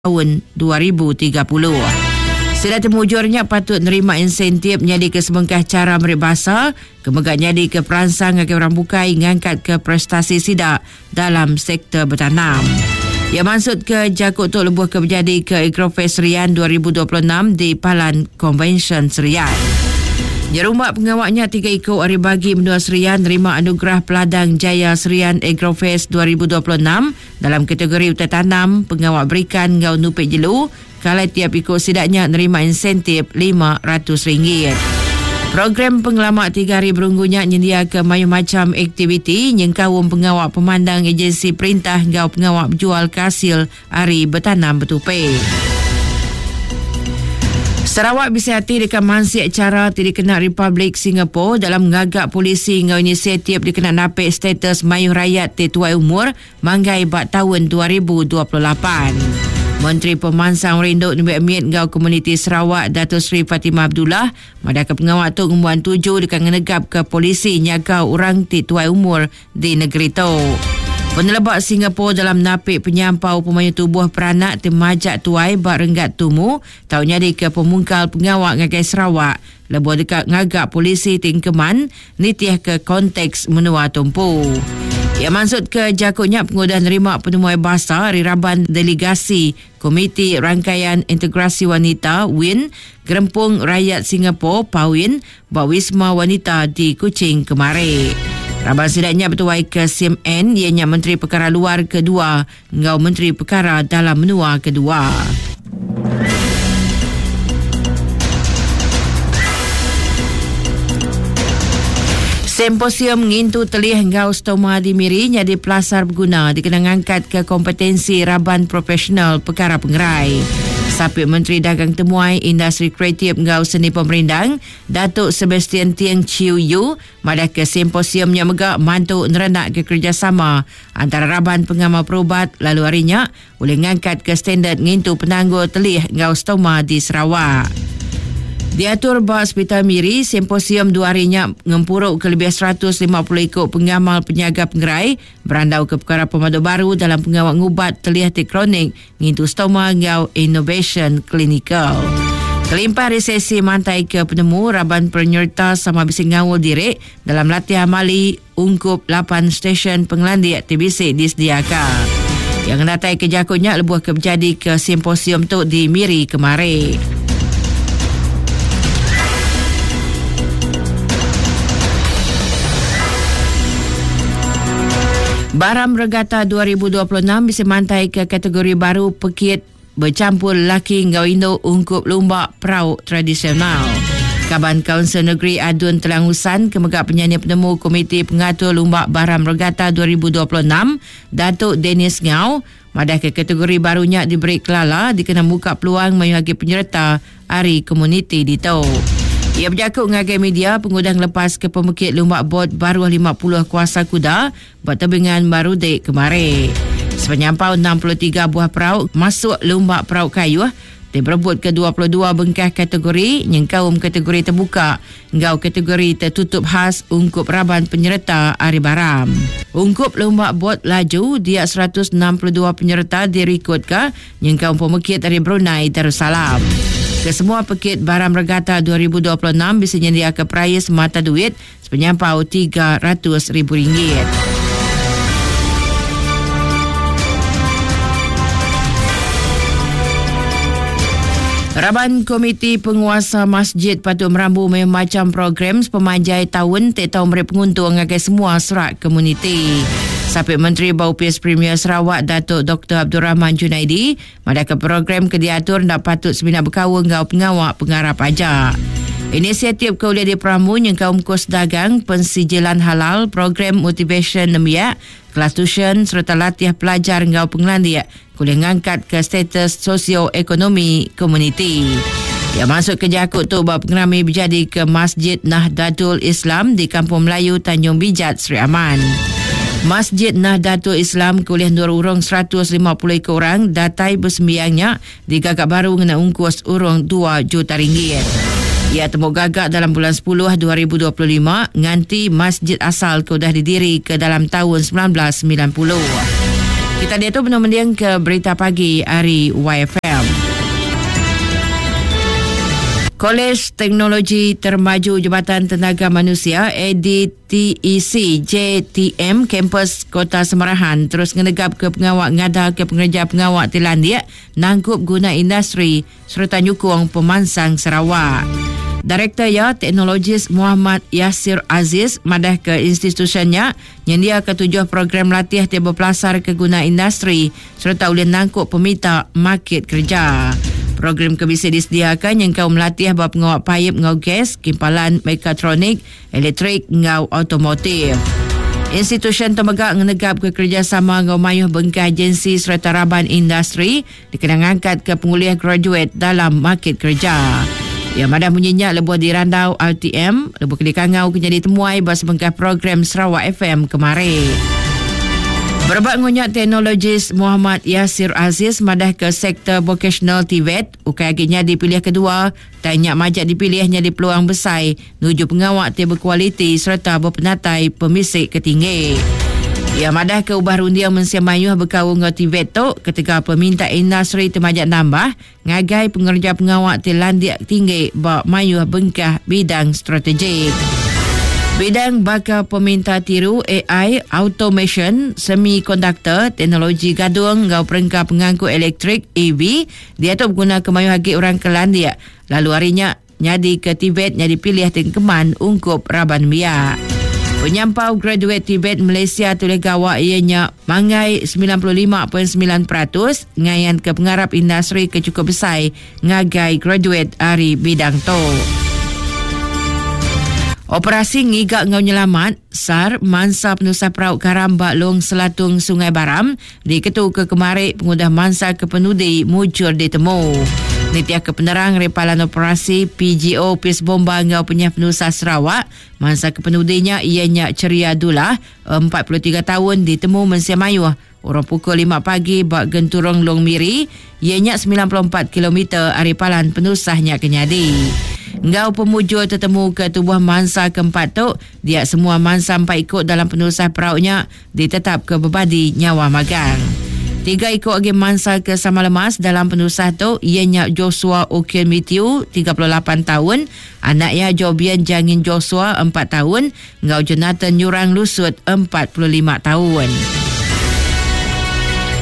Taun 2030. Sida ti mujur nya patut nerima insentif nyadika sebengkah chara meri basa ke mega nyadika peransang ngagai orang bukai ngangkatka prestasi sida dalam sektor betanam. Iya mansutka jaku tu lebuh ke bejadika Agrofest Serian 2026 di Palan Konvensyen Serian. Nyerumba pengawa nya tiga iku ari bagi menua Serian nerima Anugerah Peladang Jaya Serian Agrofest 2026 Dalam kategori utai tanam, pengawa berikan enggau nupi jelu, ke alai tiap iku sida nya nerima insentif RM500. Program pengelama tiga hari berunggu nya nyendiaka mayuh macham aktiviti nyengkaum pengawa pemandang ejensi perintah enggau pengawa bejualka asil ari betanam betupi. Sarawak bisi ati deka mansik chara ti dikena Republik Singapore dalam ngaga polisi enggau inisiatif dikena napi status mayuh rayat ti tuai umur manggai ba taun 2028. Menteri Pemansang Rindu Nembiak Mit enggau Komuniti Sarawak Dato Sri Fatimah Abdullah madahka pengawa tu ngembuan tuju deka ngenegapka polisi nyaga orang ti tuai umur di negeri tu. Peneleba Singapore dalam napi penyampau pemayuh tubuh peranak ti majak tuai ba renggat tumu tau nyadika pemungkal pengawa ngagai Sarawak lebuh deka ngaga polisi ti engkeman nitihka konteks menua tu empu. Iya mansutka jaku nya pengudah nerima penemuai basa ari raban delegasi Komiti Rangkaian Integrasi Wanita, WIN, Gerempung Rayat Singapore, PAWIN, ba Wisma Wanita di Kuching kemari. Raban sida nya betuai ke Sim Ann iya nya Menteri Pekara Luar Kedua enggau Menteri Pekara Dalam Menua Kedua. Simposium ngintu telih enggau stoma di Miri nyadi pelasar beguna dikena ngangkatka kompetensi raban profesional pekara pengerai. Sapit Menteri Dagang Temuai, Industri Kreatif enggau Seni Pemerindang, Datuk Sebastian Tieng Chiew Yu madahka simposium nya mega mantu nerenakka kerejasama antara raban pengamal perubat lalu ari nya ulih ngangkatka standard ngintu penanggul telih enggau stoma di Sarawak. Diatur ba Sepital Miri, simposium dua hari nya ngempuruka lebih 150 iku pengamal penyaga pengerai berandauka pekara pemadu baru dalam pengawa ngubat telih ti kronik, ngintu stoma enggau inovasyen klinikal. Kelimpah ari sesi mantaika penemu, raban penyereta sama bisi ngaul diri dalam latih amali ungkup lapan stesyen pengelandik ti bisi disediaka. Iya ngenataika jaku nya lebuh ke bejadika simposium tu di Miri kemari. Baram Regatta 2026 bisi mantaika kategori baru pekit Bechampur lelaki enggau indu ungkup lumba perau tradisional. Kaban Kaunsil Negeri Adun Telang Usan ke mega penyanyi penemu Komiti Pengatur Lumba Baram Regatta 2026, Datuk Dennis Ngau, madahka kategori baru nya diberi kelala dikena muka peluang mayuh agi penyereta ari komuniti ditu. Iya bejaku ngagai media pengudah ngelepaska pemekit lumba bot baruh 50 kuasa kuda Ba tebingan Marudi kemari. Sepenyampau 63 buah perau masuk lumba perau kayuh ti berebutka 22 bengkah kategori nyengkaum kategori tebuka enggau kategori tetutup khas ungkup raban penyereta ari Baram. Ungkup lumba bot laju dia 162 penyereta dirikodka nyengkaum pemekit ari Brunei Darussalam. Kesemua pekit Baram Regatta 2026 bisi nyendiaka perais mata duit Sepenyampau 300 ribu ringgit. Raban Komiti Penguasa Masjid patut merambu mayuh macham program sepemanjai taun ti tau meri penguntung ngagai semua serak komuniti. Sapit Menteri ba Opis Premier Sarawak Datuk Doktor Abdul Rahman Junaidi Madahka program ke diatur enda patut semina bekaul enggau pengawa pengarap aja. Inisiatif ke ulih diperambu nyengkaum kus dagang, pensijilan halal, program motivasyen nembiak, kelas tusyen sereta latih pelajar enggau pengelandik ke ulih ngangkatka status sosioekonomi komuniti. Iya mansutka jaku tu ba pengerami bejadika Masjid Nahdlatul Islam di Kampung Melayu Tanjung Bijat, Sri Aman. Masjid Nahdlatul Islam ke ulih endur urung 150 iku orang datai besembiang nya digaga baru ngena ungkus urung dua juta ringgit. Iya temu gaga dalam bulan sepuluh 2025 nganti masjid asal ke udah didirika dalam taun 1990. Kita diatu benung mending ke berita pagi ari YFM. Kolej Teknologi Termaju Jabatan Tenaga Manusia ADTEC JTM Kampus Kota Semarahan terus ngenegap ke pengawa ngada ke pengereja pengawa ti landik nangkup guna industri sereta nyukung pemansang Sarawak. Direktor iya, Teknologis Muhammad Yasir Aziz madahka institusyen nya nyendiaka tujuh program latih ti bepelasarka guna industri sereta ulih nangkup peminta makit kereja. Program ke bisi disediaka nyengkaum latih ba pengawa paip enggau gas, kimpalan mekatronik, elektrik enggau automotif. Institusyen tu mega ngenegapka kerejasama enggau mayuh bengkah agensi sereta raban industri dikena ngangkatka pengulih graduate dalam makit kereja. Iya madah munyi nya lebuh dirandau RTM lebuh ke dikangau ke nyadi temuai ba sebengkah program Sarawak FM kemari. Berebak enggau nya, teknologis Muhammad Yasir Aziz madahka sektor vokasional TVET ukai agi nyadi pilih kedua tang nya majak dipilih nyadi peluang besai nuju pengawa ti bekualiti sereta bepenatai pemisi ke tinggi. Iya madahka ubah runding mensia mayuh bekaul enggau TVET tu ketegal peminta industri ti majak nambah ngagai pengereja pengawa ti landik tinggi ba mayuh bengkah bidang strategik. Bidang baka peminta tiru ai, automation, semikonduktor, teknologi gadung enggau perengka pengangkut elektrik, EV, diatu begunaka mayuh agi orang ke landik lalu ari nya Nyadika TVET nyadi pilih ti engkeman ungkup raban nembiak. Penyampau graduate TVET Malaysia tulih gawa iya nya manggai 95.9% ngayanka pengarap industri ke chukup besai ngagai graduate ari bidang tu. Operasi ngiga enggau nyelamat, SAR, mansa penusah perau karam ba Long Selatung Sungai Baram Diketuka kemari pengudah mansa ke penudi mujur ditemu. Nitihka penerang ari Palan Operasi PGO Opis Bomba enggau Penyah Penusah Sarawak, mansa ke penudi nya iya nya Cheria Dullah, 43 taun ditemu mensia mayuh urung pukul lima pagi ba Genturung Long Miri, iya nya 94 kilometer ari palan penusah nya ke nyadi. Enggau pemujur tetemuka tubuh mansa keempat tu, dia semua mansa empat iku dalam penusah perau nya ditetapka bebadi nyawa magang. Tiga iku agi mansa ke sama lemas dalam penusah tu iya nya Joshua Okin Matthew, 38 taun, anak iya Jobian Jangin Joshua, 4 taun, enggau Jonathan Nyurang Lusut, 45 taun.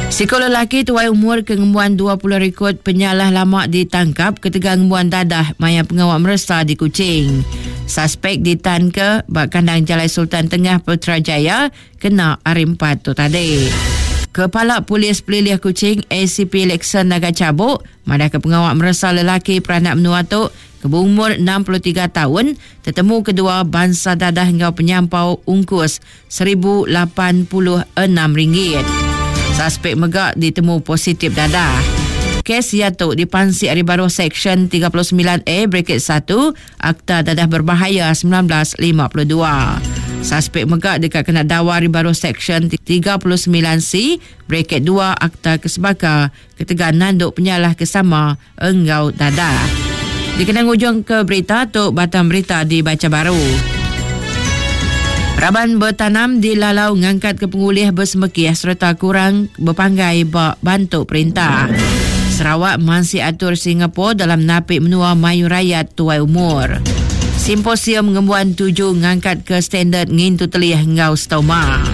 Siku lelaki tuai umur ke ngembuan 20 rikod penyalah lama ditangkap ketegal ngembuan dadah maya pengawa meresa di Kuching. Saspek ditanka ba kandang Jalai Sultan Tengah Putrajaya kena Hari Empat tu tadi. Kepala Polis Pelilih Kuching ACP Lexon Naga Chabok madahka pengawa meresa lelaki peranak menua tu ke beumur 63 taun tetemu kedua bansa dadah enggau penyampau ungkus 1086 ringgit. Saspek mega ditemu positif dadah. Kes iya tu dipansik ari baruh Seksyen 39A bracket 1 Akta Dadah Berbahaya 1952. Saspek mega deka kena dawa ari baruh Seksyen 39C bracket 2 Akta Kesebaka ketegal nandu penyalah ke sama enggau dadah. Dikena ngujungka berita tu batang berita dibacha baru. Raban betanam dilalau ngangkatka pengulih besemekih sereta kurang bepanggai ba bantu perintah. Sarawak mansik atur Singapore dalam napi menua mayuh rayat tuai umur. Simposium ngembuan tuju ngangkatka standard ngintu telih enggau stoma.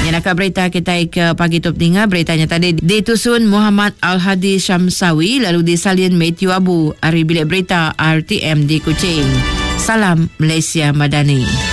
Nyenaka berita kitai ke pagi tu peninga berita nya tadi ditusun Muhammad Al-Hadi Shamsawi lalu disalin Matthew Abu ari Bilik Berita RTM di Kuching. Salam Malaysia Madani.